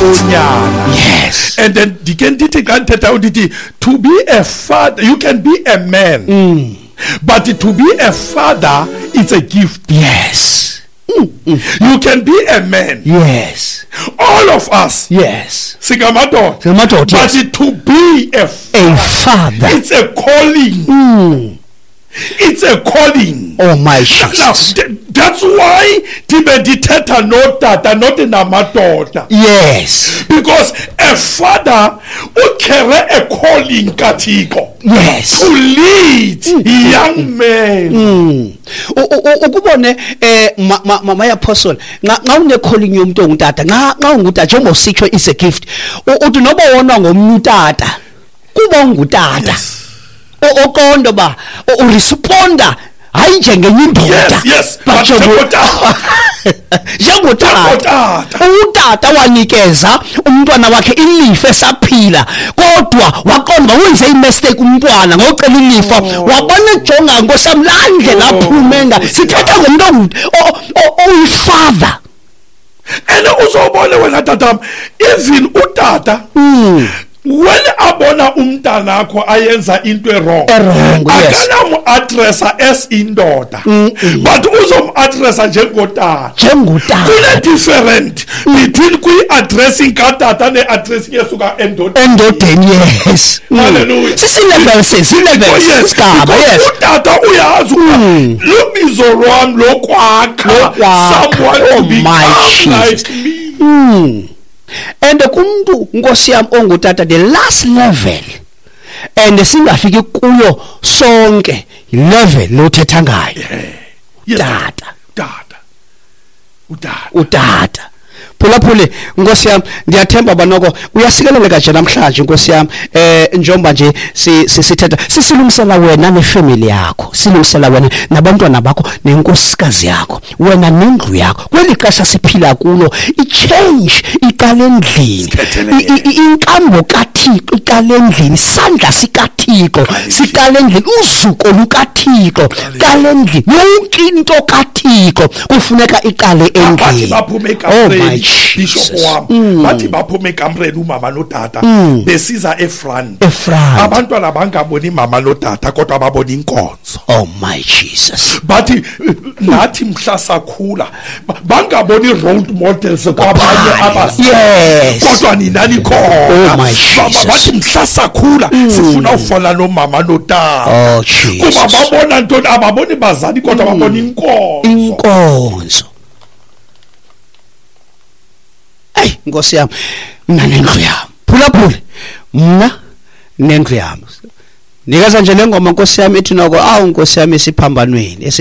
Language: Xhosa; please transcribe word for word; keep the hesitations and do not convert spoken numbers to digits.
onyana. Yes. And then ndike ndithi xa ndithetha ndithi to be a father, you can be a man. Mm. But to be a father, it's a gift. Yes. Mm. Mm. You can be a man. Yes. All of us. Yes. Singamadoda. Singamadoda, But yes. to be a father, A father. it's a calling. Mm. It's a calling. Oh my Now, Jesus. th- that's why ndibe ndithetha notata, not namadoda. Yes. Because a father ucarry a calling kaThixo. Yes. To lead young men. Mm. U- u- u- ukubone eh ma ma my apostle, nxa nxa une calling yomuntu ongutata, nxa nxa ungutata njengoba usitsho is a gift. U- Uthi noba wonwa ngomnye utata, kuba ungutata. Yes. O- Oqonda ba uresponda hayi njengenye indoda. Yes, yes, but but njengo- njengotata. Njengotata. Njengotata. Utata wanikeza umntwana wakhe ilifa esaphila, kodwa waqonda wenze imistake umntwana ngocela ilifa. Oh. Wabona ejonga nkosam laa ndlela Oh, aphume nga. Nkosi Sithetha yam. ngomntu ongu-, o-, o-, oyifather. And uzobona wena tatam, even utata Mm. when abona umntanakho ayenza into e-wrong, E-wrong, yes. akanamu-addressa as indoda, but uzom-addressa njengotata. Njengotata. Kune-different between kwi-addressing katata ne-addressing esuka endodeni. Endodeni, yes. Mm. Hallelujah. Sisi-levels, si-levels, Yes, isigaba, because yes. utata uyazi ukuba lubizo lwam lokwakha Lokwakha. someone to Oh, my become Jesus. like me. Mm. And kumntu nkosi yam ongutata, the last level and singafiki kuyo sonke level lothetha ngayo. Yes. Tata. Tata. Utata. Utata. Phulaphule nkosi yam, ndiyathemba banoko uyasikeleleka nje namhlanje nkosi yam, eh njengoba nje si-, si-, sithetha sisilungisela wena nefamily yakho, silungisela wena nabantwana bakho nenkosikazi yakho, wena nendlu yakho. Kweli xesha siphila kulo, i-change iqala endlini. Sithethelele. I-, i-, inkambo kaThixo iqala endlini, isandla sikaThixo siqala endlini, uzuko lukaThixo qala endlini, yonke into kaThixo kufuneka iqale Bathi endlini. baphume Oh my ekamreni, Bishop Jesus. wam. Mm. Bathi baphume ekamreni umama notata, Mm. besiza efront. Efront. Abantwana bangaboni mama notata kodwa babona inkonzo. Oh my Jesus. Bathi nathi mhla sakhula ba-, bangaboni role models kwabanye abazali. Yes. Kodwa nina nikhona. Oh my Ba-, ba-, Jesus. Bathi mhla sakhula Mm. sifuna ufana nomama notata. Oh Jesus. Kuba babona ntoni? Ababoni bazali kodwa Mm. babona inkonzo. Inkonzo. Ey Nkosi yami, mina nendlu yami. Phulaphule, mna nendlu yami. Nikeza nje le ngoma Nkosi yami ethi noko, awu Nkosi yami esiphambanweni,